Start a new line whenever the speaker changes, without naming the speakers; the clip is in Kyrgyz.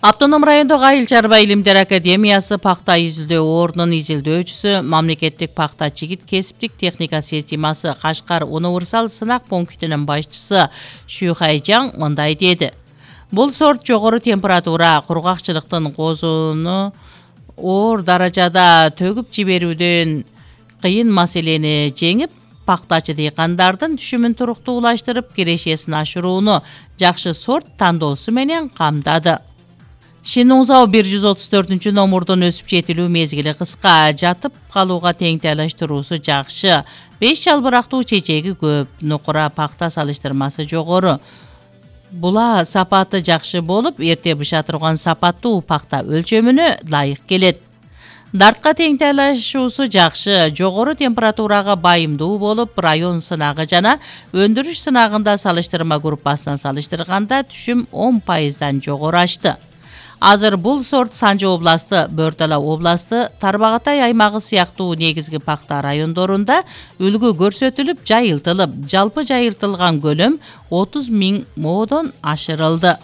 Автоном райондогу Айыл чарба илимдер академиясы пакта изилдөө ордунун изилдөөчүсү, мамлекеттик пакта чигит кесиптик техника системасы Кашкар универсал сынак пунктунун башчысы Шүйхайжан мындай деди. Бул сорт жогору температура, кургакчылыктын козууну оор даражада төгүп жиберүүдөн кыйын маселени жеңип, пактачы дыйкандардын түшүмүн туруктуулаштырып, кирешесин ашырууну жакшы сорт тандоосу менен камдады. Шинузау 134 номурдун өсүп жетилүү мезгили кыска, жатып калууга теңтайлаштыруусу жакшы. 5 жалбырактуу чечеги көп, нукура пакта салыштырмасы жогору. Була сапаты жакшы болуп, эрте быша турган сапаттуу пакта өлчөмүнө ылайык келет. Дартка теңтайлашуусу жакшы, жогору температурага байымдуу болуп, район сынагы жана өндүрүш сынагында салыштырма группасынан салыштырганда түшүм 10%дан жогору ашты. Азыр бул сорт Санжы областы, Бөртала областы, Тарбагатай аймагы сыяктуу негизги пакта райондорунда үлгү көрсөтүлүп, жайылтылып, жалпы жайылтылган көлөм 30 000 моодон ашырылды.